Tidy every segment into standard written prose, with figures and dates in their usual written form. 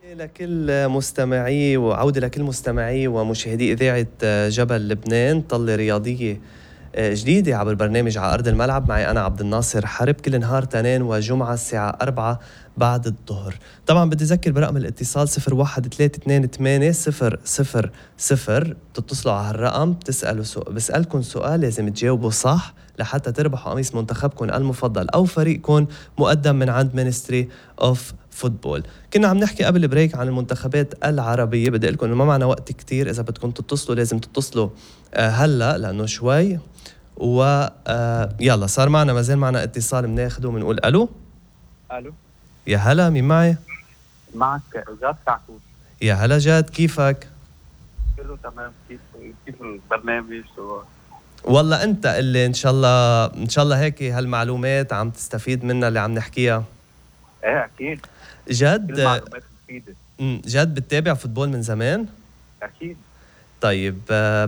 لكل مستمعي وعودة لكل مستمعي ومشاهدي إذاعة جبل لبنان. طلة رياضية جديدة عبر برنامج على أرض الملعب معي أنا عبد الناصر حرب، كل نهار تنين وجمعة الساعة 4 بعد الظهر. طبعا بدي أذكر برقم الاتصال 01-328-000. بتتصلوا على هالرقم بسألكم سؤال لازم تجاوبوا صح لحتى تربحوا قميص منتخبكم المفضل أو فريقكم مقدم من عند مينستري أوف فوتبول. كنا عم نحكي قبل البريك عن المنتخبات العربية. بدي لكم إنه ما معنا وقت كتير، إذا بدكم تتصلوا لازم تتصلوا هلأ لأنه شوي يلا صار معنا ما زال معنا اتصال بناخده وبنقول ألو. الو، يا هلا، مين معي؟ معك جاد كعكوس. يا هلا جاد، كيفك؟ كله تمام. كيف البرنامج؟ والله انت اللي ان شاء الله هيك هالمعلومات عم تستفيد منها اللي عم نحكيها. ايه اكيد، كل جد معلومات مفيدة. جد بتتابع فوتبول من زمان؟ اكيد. طيب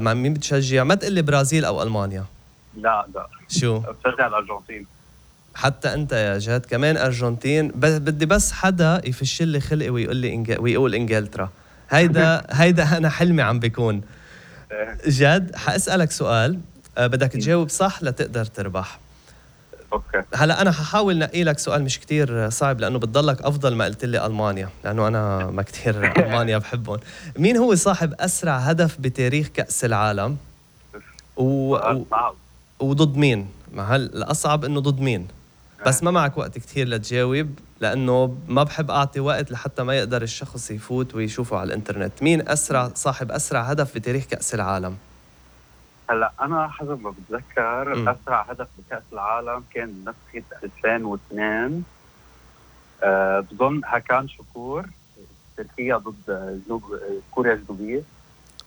مع مين بتشجع؟ ما تقلي برازيل او المانيا. لا شو؟ بشجع الارجنتين. حتى انت يا جاد كمان ارجنتين؟ بدي بس حدا يفش لي خلقي ويقول لي ويقول انجلترا. هيدا انا حلمي عم بيكون. جاد حاسالك سؤال، بدك تجاوب صح لتقدر تربح. اوكي. هلا انا ححاول نقي لك سؤال مش كتير صعب لانه بتضلك افضل ما قلت لي المانيا، لانه انا ما كتير المانيا بحبهم. مين هو صاحب اسرع هدف بتاريخ كأس العالم؟ وضد مين؟ ما هل الاصعب انه ضد مين؟ بس ما معك وقت كتير لتجاوب لانه ما بحب اعطي وقت لحتى ما يقدر الشخص يفوت ويشوفه على الانترنت. مين صاحب اسرع هدف بتاريخ كأس العالم؟ هلا انا حسب ما بتذكر اسرع هدف بكأس العالم كان نسخة 2002. بظن هكان شكور، تركيا ضد كوريا الجنوبية.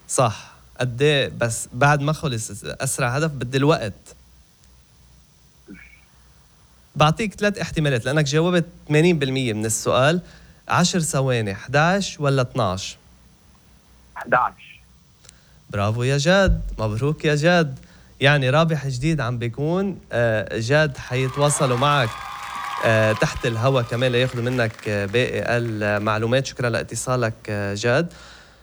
صح. قد ايه بس بعد ما خلص اسرع هدف؟ بدي الوقت. بعطيك 3 احتمالات لانك جاوبت 80% من السؤال. 10 ثواني، 11 ولا 12؟ 11. برافو يا جاد، مبروك يا جاد. يعني رابح جديد عم بيكون. جاد حيتواصلوا معك تحت الهواء كمان لياخذوا منك باقي المعلومات. شكرا لاتصالك جاد.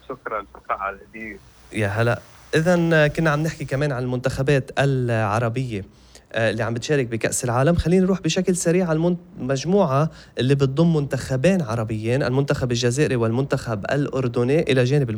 شكرا على الهدية. يا هلا. إذن كنا عم نحكي كمان عن المنتخبات العربية اللي عم بتشارك بكأس العالم. خلينا نروح بشكل سريع على المجموعة اللي بتضم منتخبين عربيين، المنتخب الجزائري والمنتخب الأردني، إلى جانب